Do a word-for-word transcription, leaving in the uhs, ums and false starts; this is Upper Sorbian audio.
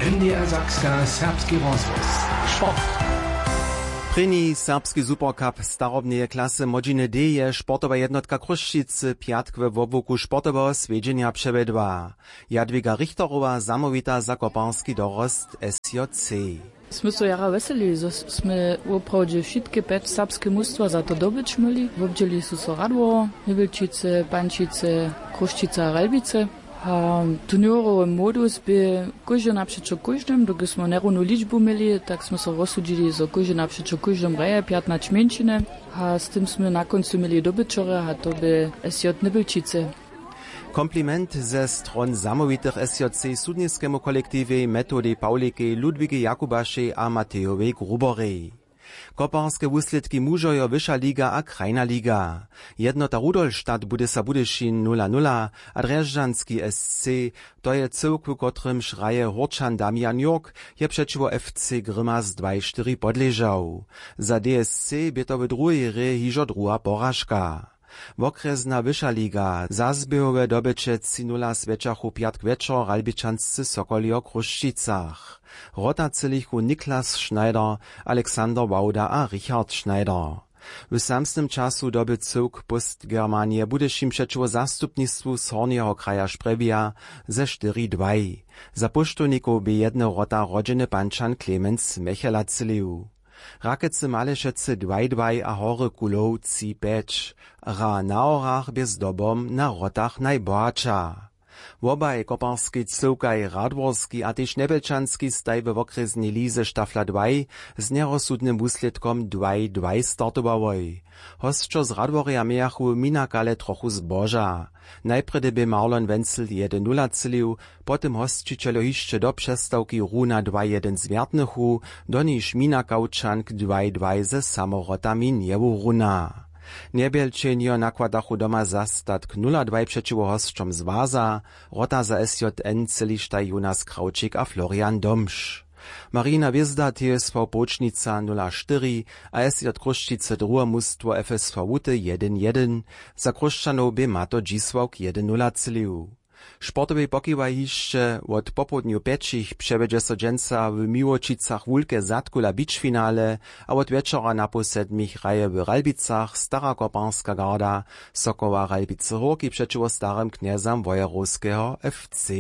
Niedersakska, serbski rozhłos. Sport. Prěni serbski supercup starobneje klasy młodźiny D je sportowa jednotka Chrósćicy pjatk we wobłuku sportoweho swjedźenja přewjedła. Jadwiga Richterowa zamołwita za koparski dorost S J C. Smy so jara wjeselili, zo smy woprawdźe wšitke pjeć serbske mustwa za to dobyć měli. Wobdźěli su so Radwor, Nywilčice, Pančice, Chrósćica a Ralbice. A turněrowy modus bě kóždy napřećo kóždym, dokelž smy njerownu ličbu měli, tak smy so rozsudźili, zo kóždy napřećo kóždym hraje pjatnaće mjeńšiny. A z tym smy na kóncu měli dobyćerjo a to bě S J Nywilčice. Kompliment ze stron zamołwitych S J C sudniskemu kolektiwej Metodej Pawlikej, Ludwigej Jakubašej a Matejowej Gruborej. Koparske wuslědki mužojo, wyša liga a krajna liga. Jednota Rudolstadt Budysa Budyšin nula nula a Drježdźanski S C, to je cyłk, w kotrymž hraje Hórčan Damian Jurk, je přećiwo F C Grimas dwaj štyri podležał. Za D S C bě to w druhej hrě hižo druha poražka. Wokrjesna wyša liga. Za zběhowe dobyće tři nula swjećachu pjatk wječor Ralbičanscy Sokoli wo Chrósćicach. Wrota třělichu Niklas Schneider, Alexander Wauda a Richard Schneider. W samsnym času doby cyłk Postgermanije Budyšin přećiwo zastupnistwu z Hornjeho kraja Šprjewja ze štyri dwaj. Za Póštownikow bě jedne wrota rodźeny Pančan Clemens Mechela třělił. Rakecy Malešecy dwaj dwaj a Hory Kulow tři pjeć. Hra na Horach bě zdobom na wrotach najbohatša. Wobaj koparskej cyłkaj Radworski a tež Njebjelčanski staj we wokrjesnej lize Stafla dwaj z njerozsudnym wuslědkom dwaj dwaj startowałoj. Hosćo z Radworja mějachu minakale trochu zboža. Najprjedy bě Marlon Wenzel jedyn nula třělił, po tym hosćićeljo hišće do přestawki runa dwaj jedyn zwjertnychu, do niž Mina Kaučank dwaj dwaj ze samorotami njewuruna. Njebjelčenjo nakładachu doma zastatk nula dwaj přećiwo hosćom z Waza, wrota za S J N třělištaj Jonas Krawčik a Florian Domš. Marina Hwězda T S V Połčnica nula štyri a S J Chrósćice druhe mustwo F S V Łuty jedyn jedyn. Za Chróšćanow bě Mato Dźisławk jedyn nula třělił. Sportowej pokiwaj hišće: wot popołdnju pjećich přewjedźe so dźensa w Miłočicach wulke zadkula beachfinale a wot wječora napoł sedmich hraje w Ralbicach Stara koparska garda Sokoła Ralbicy Hórki přećiwo starym knjezam Wojerowskeho F C.